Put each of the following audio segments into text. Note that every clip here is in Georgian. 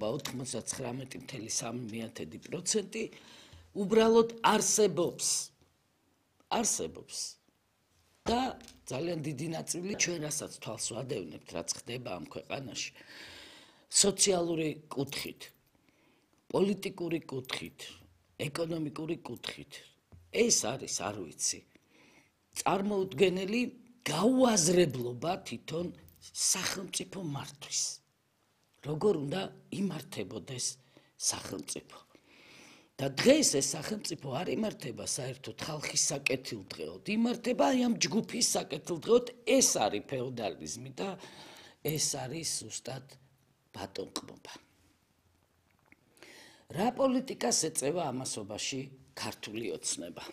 უმრავლესობა 99.3% უბრალოდ არსებობს და ძალიან დიდი ნაწილი ჩვენ რასაც თვალს ვადევნებთ, რაც ხდება ამ ქვეყანაში, სოციალური კუთხით, პოლიტიკური კუთხით, ეკონომიკური კუთხით, ეს არის, არ ვიცი, წარმოუდგენელი გაუაზრებლობა თვითონ სახელმწიფო მართვის. როგორ უნდა იმართებოდეს სახელმწიფო. და დღეს ეს სახელმწიფო არ იმართება საერთოდ ხალხის საკეთილდღეოდ, იმართება აი ამ ჯგუფის საკეთილდღეოდ, ეს არის ფეოდალიზმი და ეს არის ზუსტად ბატონყმობა. რა პოლიტიკას ეწევა ამასობაში ქართული ოცნება?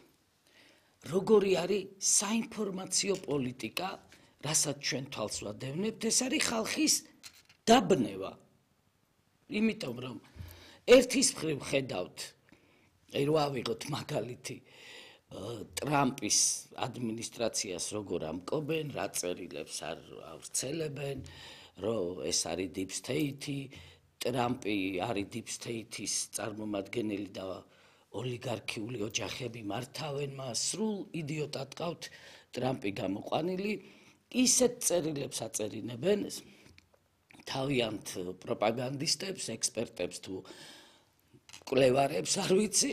როგორი არის საინფორმაციო პოლიტიკა, რასაც ჩვენ თვალს ვადევნებთ, ეს არის ხალხის დაბნევა. იმიტომ რომ ერთის მხრივ ხედავთ, რო ავიღოთ მაგალითი ტრამპის ადმინისტრაციას როგორ ამკობენ, რა წერილებს არ ავრცელებენ, რომ ეს არის deep state-ი, ტრამპი არის deep state-ის წარმომადგენელი და ოლიგარქიული ოჯახები მართავენ მას, სრულ იდიოტად ყავთ ტრამპი გამოყვანილი, ისეთ წერილებს აწერინებენ თავიანთ პროპაგანდისტებს, ექსპერტებს თუ კვლევარებს, არ ვიცი,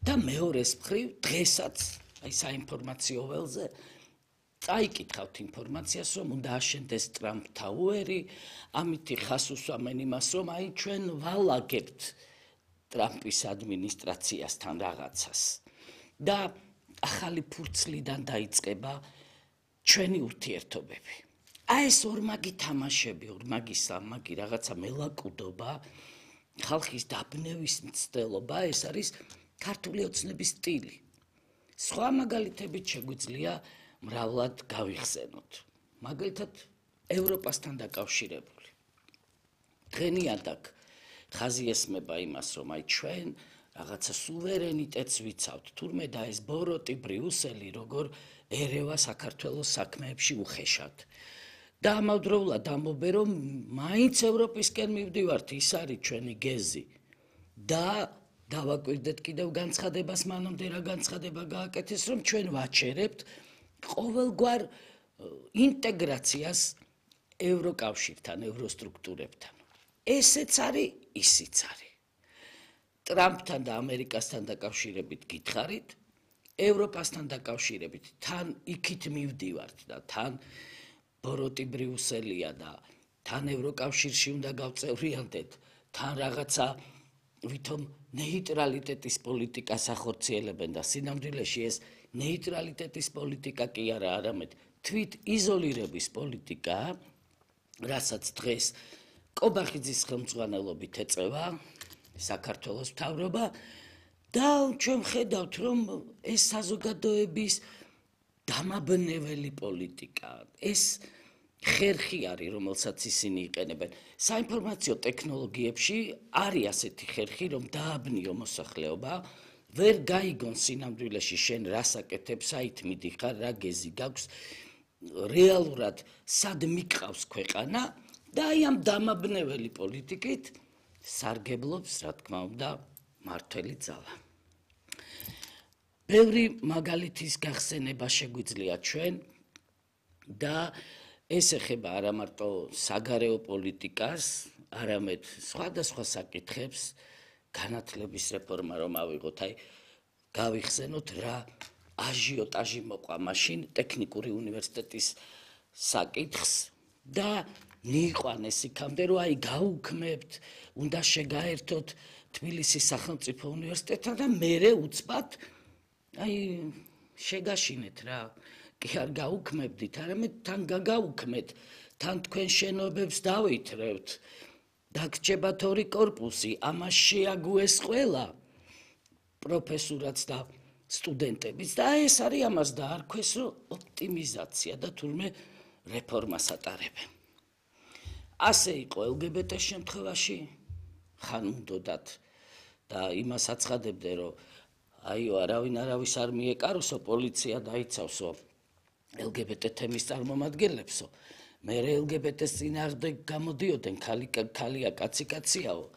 და მეორეს მხრივ დღესაც აი საინფორმაციო ველზე წაიკითხავთ ინფორმაციას, რომ უნდა აშენდეს ტრამპ თაუერი, ამითი ხას უსვამენ იმას, რომ აი ჩვენ ვალაგებთ ტრამპის ადმინისტრაციასთან რაღაცას და ახალი ფურცლიდან დაიწყება ჩვენი ურთიერთობები. აი ეს ორმაგი თამაშები, ორმაგი რაღაცა მელაკუდობა, ხალხის დაბნევის მცდელობა, ეს არის ქართული ოცნების სტილი. სხვა მაგალითებით შეგვიძლია მრავლად გავიხსენოთ. მაგალითად, ევროპასთან დაკავშირებული. დღენიად აქ ხაზი ესმება იმას, რომ აი ჩვენ რაღაცა სუვერენიტეტს ვიცავთ, თურმე და ეს ბოროტი ბრიუსელი როგორ ერევა საქართველოს საქმეებში უხეშად. და ამავდროულად ამბობენ, რომ მაინც ევროპისკენ მივდივართ, ის არის ჩვენი გეზი. და დავაკვირდეთ კიდევ განცხადებას, მანამდე რა განცხადება გააკეთეს, რომ ჩვენ ვაჩერებთ ყოველგვარ ინტეგრაციას ევროკავშირთან, ევროსტრუქტურებთან. ესეც არის, ისიც არის. ტრამპთან და ამერიკასთან დაკავშირებით გითხარით, ევროპასთან დაკავშირებით თან იქით მივდივართ და თან ბოროტი ბრიუსელია და თან ევროკავშირში უნდა გავწევრიანდეთ, თან რაღაცა ვითომ ნეიტრალიტეტის პოლიტიკას ახორციელებენ და სინამდვილეში ეს ნეიტრალიტეტის პოლიტიკა კი არა, არამედ თვით იზოლირების პოლიტიკა, რასაც დღეს კობახიძის ხელმძღვანელობით ეწევა საქართველოს მთავრობა და ჩვენ ხედავთ, რომ ეს საზოგადოების დამაბნეველი პოლიტიკა, ეს ხერხი არის, რომელსაც ისინი იყენებენ. საინფორმაციო ტექნოლოგიებში არის ასეთი ხერხი, რომ დააბნიო მოსახლეობა, ვერ გაიგონ სინამდვილეში შენ რას აკეთებ, საით მიდიხარ, რა გეზი გაქვს, რეალურად სად მიყავს ქვეყანა და აი ამ დამაბნეველი პოლიტიკით სარგებლობს, რა თქმა უნდა, მართველი ძალა. ბევრი მაგალითის გახსენება შეგვიძლია ჩვენ და ეს ეხება არა მარტო საგარეო პოლიტიკას, არამედ სხვადასხვა საკითხებს, განათლების რეფორმა რომ ავიღოთ, აი გავიხსენოთ რა აჟიოტაჟი მოყვა მაშინ ტექნიკური უნივერსიტეტის საკითხს და მიიყვანეს იქამდე, რომ აი გაუქმებთ, უნდა შეგაერთოთ თბილისის სახელმწიფო უნივერსიტეტთან და მერე უცბად აი შეგაშინეთ რა. კი არ გაუქმებდით, არამედ თან გაგაუქმეთ, თან თქვენ შენობებს დავითრევთ, დაგრჩებათ 2 კორპუსი, ამას შეაგუეს ყველა პროფესურაც და სტუდენტებიც და ეს არის ამას დაარქვეს, რომ ოპტიმიზაცია და თურმე რეფორმას ატარებენ. ასე იყო LGBT-ს შემთხვევაში, ხან უნდათ და იმას აცხადებდნენ, რომ აიო, არავინ არავის არ მიეკაროსო, პოლიცია დაიცავსო LGBT თემის წარმომადგენლებსო. მე LGBT-ს წინააღმდეგ გამოდიოდნენ, ქალია, კაცი კაციაო.